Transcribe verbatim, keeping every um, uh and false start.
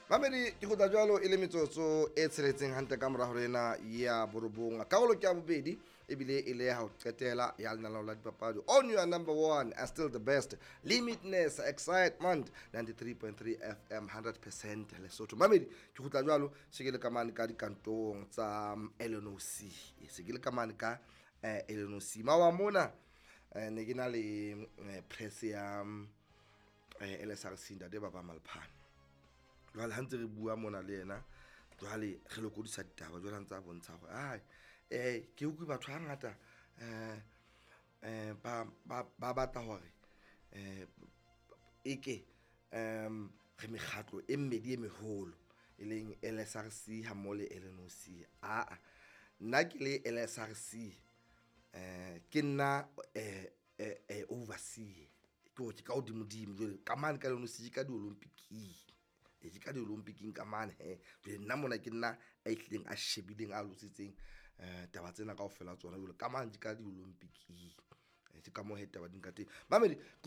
Mamedi, ke kgutla jwalo e le metsotso e tsheletseng hantle ka mora hore ena ya borobong. Karolo ke ya bobedi, ebile e le ha ho qetela ya lenaneo la dipapadi on your number one and still the best, limitless excitement, ninety-three point three F M, one hundred percent Lesotho. Mamedi, ke kgutla jwalo se ke le ka mane ka dikantong tsa L N O C, se ke le ka mane ka eh, L N O C. Mawa mona eh, ne ke na le eh, press ya eh, L S R C, ntate Baba Malphane. Jwale ha ntse re bua mona le yena, jwale re lokodisa ditaba, jwale ha ntse a bontsha hore ai eh ke utlwe batho hangata eh eh ba ba ba batla hore eh eke um re mekgatlo e mmedi e meholo, e leng L S R C ha mmoho le L N O C. Aa, nna ke le L S R C, eh ke nna eh eh overseer, ke hore ke ka hodimo-dimo. Jwale ka mane ka L N O C ke ka di-Olympic-ing, e ke ka di-Olympic-ing ka mane he. Jwale nna mona ke nna a ihlileng a shebileng, a lositseng um taba tsena kaofela tsona. Jwale ka mane ke ka di-Olympic-ing, ke ka moo he taba di nka teng, mamedi.